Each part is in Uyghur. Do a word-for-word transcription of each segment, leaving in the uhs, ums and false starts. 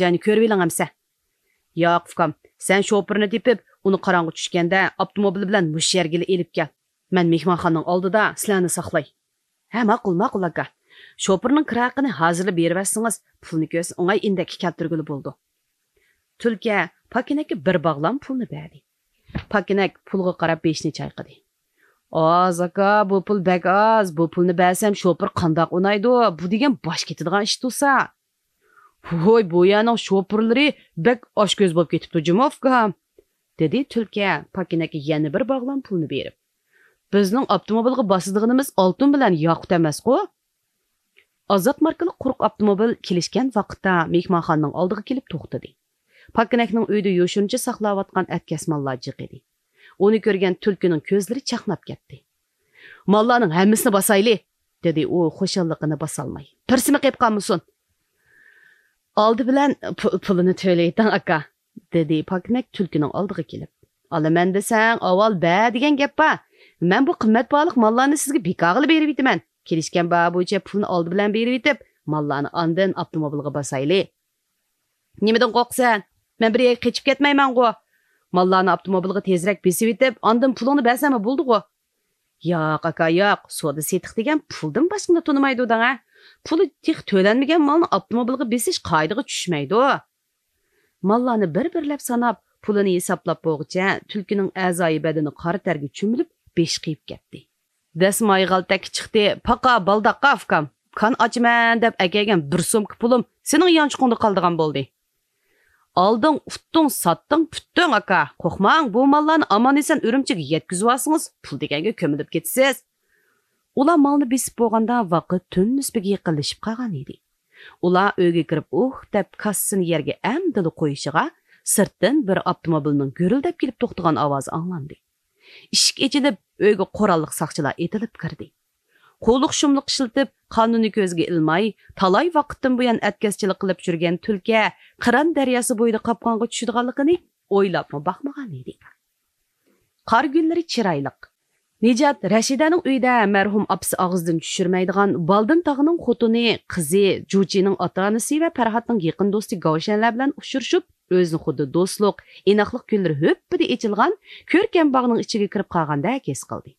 جاينى كۆرۈۋېلىڭ ئەمسە. ياق، ئۇكام، سەن شوپۇرنى تېپىپ، ئۇنى قاراڭغۇ چۈشكەندە ئاپتوموبىل بىلەن مۇشۇ يەرگىلا ئېلىپ كەل. مەن مېھمانخانىنىڭ ئالدىدا سىلەرنى ساقلاي. ھە، ماقۇل، ماقۇل، ئاكا. شوپۇرنىڭ كىرا ھەققىنى ھازىرلا بېرىۋەتسىڭىز، پۇلنى كۆرسە ئوڭاي ئىندەككە كەلتۈرگىلى بولىدۇ. تۈلكە پاكىنەككە بىر باغلام پۇلنى بەردى. پاكىنەك پۇلغا قاراپ بېشىنى چايقىدى. ئاز، ئاكا، بۇ پۇل بەك ئاز. بۇ پۇلنى بەرسەم شوپۇر قانداق ئۇنايدۇ؟ بۇ دېگەن باش كېتىدىغان ئىش تۇرسا. ۋوي، بۇ يەرنىڭ شوپۇرلىرى بەك ئاچكۆز بولۇپ كېتىپتۇ جۇمۇ، ئۇكام، دېدى تۈلكە پاكىنەككە يەنە بىر باغلام پۇلنى بېرىپ. بىزنىڭ ئاپتوموبىلغا باسىدىغىنىمىز ئالتۇن بىلەن ياقۇت ئەمەسقۇ؟ ئازات ماركىلىق قۇرۇق ئاپتوموبىل كېلىشكەن ۋاقىتتا مېھمانخانىنىڭ ئالدىغا كېلىپ توختىدى. پاكىنەكنىڭ ئۆيدە يوشۇرۇنچە ساقلاۋاتقان ئەتكەس ماللار جىق ئىدى. ئۇنى كۆرگەن تۈلكىنىڭ كۆزلىرى چاقناپ كەتتى. ماللارنىڭ ھەممىسىنى باسايلى، دېدى ئۇ خۇشاللىقىنى باسالماي. بىرسىمۇ قېلىپ قالمىسۇن. ئالدى بىلەن پۇ-، پۇلىنى تۆلىۋېتىڭ، ئاكا، دېدى پاكىنەك تۈلكىنىڭ ئالدىغا كېلىپ. ئالىمەن دېسەڭ، ئاۋۋال بەر دېگەن گەپ بار. مەن بۇ قىممەت باھالىق ماللارنى سىزگە بىكارغىلا بېرىۋېتىمەن. كېلىشكەن باھا بويىچە پۇلنى ئالدى بىلەن بېرىۋېتىپ، ماللارنى ئاندىن ئاپتوموبىلغا باسايلى. نېمىدىن قورقىسەن؟ مەن بىر يەرگە قېچىپ كەتمەيمەنغۇ. ماللارنى ئاپتوموبىلغا تېزرەك بېسىۋېتىپ، ئاندىن پۇلۇڭنى بەرسەممۇ بولىدىغۇ. ياق، ئاكا، ياق. سودا سېتىق دېگەن پۇلدىن باشقىنى تونۇمايدۇ دەڭە. پۇلى تېخى تۆلەنمىگەن مالنى ئاپتوموبىلغا بېسىش قائىدىگە چۈشمەيدۇ. ماللارنى بىر-بىرلەپ ساناپ، پۇلىنى ھېسابلاپ بولغۇچە، تۈلكىنىڭ ئەزايى بەدىنى قارا تەرگە چۆمۈلۈپ، بېشى قېيىپ كەتتى. دەسمايى غالتەككە چىقتى. پاقا بالداققا ئۇكام، كان ئاچىمەن دەپ ئەكەلگەن بىر سومكا پۇلۇم سېنىڭ يانچۇقۇڭدا قالىدىغان بولدى. ئالدىڭ، ئۇتتۇڭ، ساتتىڭ، پۈتتۈڭ، ئاكا. قورقماڭ، بۇ ماللارنى ئامان-ئېسەن ئۈرۈمچىگە يەتكۈزۈۋالسىڭىز، پۇل دېگەنگە كۆمۈلۈپ كېتىسىز. ئۇلار مالنى بېسىپ بولغاندا، ۋاقىت تۈن نىسپىگە يېقىنلىشىپ قالغان ئىدى. ئۇلار ئۆيگە كىرىپ، ئۇھ دەپ كاسسىسىنى يەرگە ئەمدىلا قويۇشىغا، سىرتتىن بىر ئاپتوموبىلنىڭ گۈرۈلدەپ كېلىپ توختىغان ئاۋازى ئاڭلاندى. ئىشىك ئېچىلىپ، ئۆيگە قوراللىق ساقچىلار ئېتىلىپ كىردى. قۇۋلۇق-شۇملۇق ئىشلىتىپ، قانۇننى كۆزگە ئىلماي، تالاي ۋاقىتتىن بۇيان ئەتكەسچىلىك قىلىپ يۈرگەن تۈلكە قىران دەرياسى بويىدا قاپقانغا چۈشىدىغانلىقىنى ئويلاپمۇ باقمىغان ئىدى. قار گۈللىرى چىرايلىق. نىجات رەشىدەنىڭ ئۆيىدە مەرھۇم ئاپىسى ئاغزىدىن چۈشۈرمەيدىغان بالدىن تاغىنىڭ خوتۇنى، قىزى، جۇچىنىڭ ئاتا-ئانىسى ۋە پەرھاتنىڭ يېقىن دوستى گاۋشەنلەر بىلەن ئۇچرىشىپ، ئۆزىنى خۇددى دوستلۇق، ئىناقلىق گۈللىرى ھۈپپىدە ئېچىلغان كۆركەم باغنىڭ ئىچىگە كىرىپ قالغاندەك ھېس قىلدى.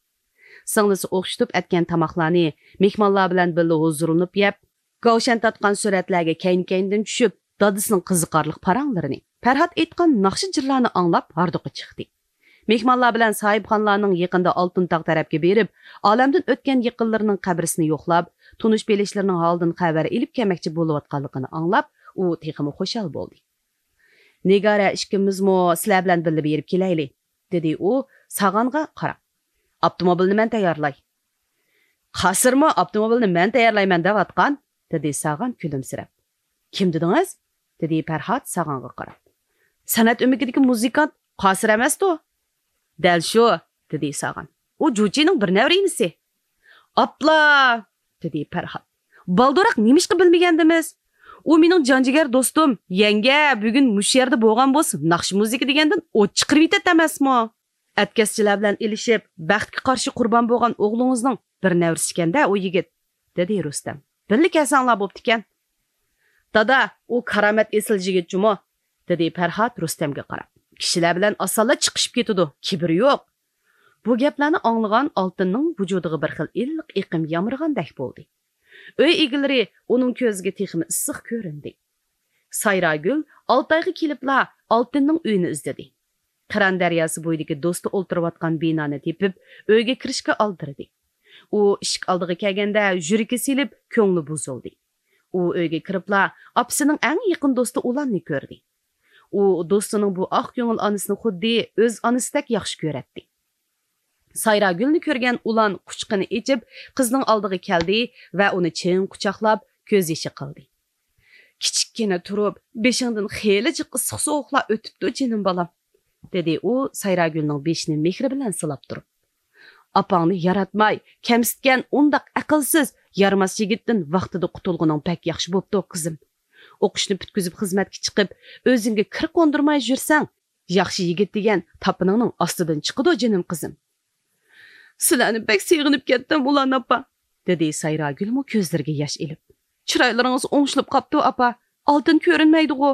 سىڭلىسى ئوخشىتىپ ئەتكەن تاماقلارنى، مېھمانلار بىلەن بىللە ھۇزۇرلىنىپ يەپ، گاۋشەن تارتقان سۈرەتلەرگە كەينى-كەينىدىن چۈشۈپ، دادىسىنىڭ قىزىقارلىق پاراڭلىرىنى، پەرھات ئېيتقان ناخشا-جىرلارنى ئاڭلاپ ھاردۇقى چىقتى. مېھمانلار بىلەن ساھىبخانلارنىڭ يېقىندا ئالتۇن تاغ تەرەپكە بېرىپ، ئالەمدىن ئۆتكەن يېقىنلىرىنىڭ قەبرىسىنى يوقلاپ، تونۇش-بىلىشلىرىنىڭ ھالىدىن خەۋەر ئېلىپ كەلمەكچى بولۇۋاتقانلىقىنى ئاڭلاپ، ئۇ تېخىمۇ خۇشال بولدى. نىگارە ئىككىمىزمۇ سىلەر بىلەن بىللە بېرىپ كېلەيلى، دېدى ئۇ ساغانغا قاراپ. ئاپتوموبىلنى مەن تەييارلاي. قاسىرمۇ ئاپتوموبىلنى مەن تەييارلايمەن دەۋاتقان، دېدى ساغان كۈلۈمسىرەپ. كىم دېدىڭىز؟ دېدى پەرھات ساغانغا قاراپ. سەنئەت ئۆمىكىدىكى مۇزىكانت قاسىر ئەمەستۇ؟ دەل شۇ، دېدى ساغان. ئۇ جۇچىنىڭ بىر نەۋرە ئىنىسى. ئاپلا! دېدى پەرھات. بالدۇراق نېمىشقا بىلمىگەندىمىز؟ ئۇ مېنىڭ جان جىگەر دوستۇم، يەڭگە، بۈگۈن مۇشۇ يەردە بولغان بولسا، ناخشا مۇزىكا دېگەندىن ئوت چىقىرىۋېتەتتى ئەمەسمۇ؟ ئەتكەسچىلەر بىلەن ئېلىشىپ، بەختكە قارشى قۇربان بولغان ئوغلىڭىزنىڭ بىر نەۋرىسىكەن-دە ئۇ يىگىت، دېدى رۇستەم. بىللە كەلسەڭلار بوپتىكەن. دادا، ئۇ كارامەت ئېسىل يىگىت جۇمۇ، دېدى پەرھات رۇستەمگە قاراپ. كىشىلەر بىلەن ئاسانلا چىقىشىپ كېتىدۇ، كىبىرى يوق. بۇ گەپلەرنى ئاڭلىغان ئالتىننىڭ ۋۇجۇدىغا بىر خىل ئىللىق ئېقىم يامرىغاندەك بولدى. ئۆي ئىگىلىرى ئۇنىڭ كۆزىگە تېخىمۇ ئىسسىق كۆرۈندى. سايراگۈل ئالتايغا كېلىپلا ئالتىننىڭ ئۆيىنى ئىزدىدى. قىران دەرياسى بويىدىكى دوستى ئولتۇرۇۋاتقان بىنانى تېپىپ، ئۆيگە كىرىشكە ئالدىرىدى. ئۇ ئىشىك ئالدىغا كەلگەندە يۈرىكى سېلىپ، كۆڭلى بۇزۇلدى. ئۇ ئۆيگە كىرىپلا ئاپىسىنىڭ ئەڭ يېقىن دوستى ئۇلاننى كۆردى. ئۇ دوستىنىڭ بۇ ئاق كۆڭۈل ئانىسىنى خۇددى ئۆز ئانىسىدەك ياخشى كۆرەتتى. سايراگۈلنى كۆرگەن ئۇلان قۇچىقىنى ئېچىپ، قىزنىڭ ئالدىغا كەلدى ۋە ئۇنى چىڭ قۇچاقلاپ، كۆز يېشى قىلدى. كىچىككىنە تۇرۇپ، بېشىڭدىن خېلى جىق ئىسسىق-سوغۇقلار ئۆتۈپتۇ، جېنىم بالام، دېدى ئۇ سايراگۈلنىڭ بېشىنى مېھرى بىلەن سىلاپ تۇرۇپ. ئاپاڭنى ياراتماي، كەمسىتكەن ئۇنداق ئەقىلسىز، يارىماس يىگىتتىن ۋاقتىدا قۇتۇلغىنىڭ بەك ياخشى بوپتۇ، قىزىم. ئوقۇشنى پۈتكۈزۈپ خىزمەتكە چىقىپ، ئۆزۈڭگە كىر قوندۇرماي يۈرسەڭ، ياخشى يىگىت دېگەن تاپىنىڭنىڭ ئاستىدىن چىقىدۇ، جېنىم قىزىم. سىلەرنى بەك سېغىنىپ كەتتىم، ئۇلان ئاپا، دېدى سايراگۈلمۇ كۆزلىرىگە ياش ئېلىپ. چىرايلىرىڭىز ئوڭشىلىپ قاپتۇ، ئاپا. ئالتىن كۆرۈنمەيدىغۇ؟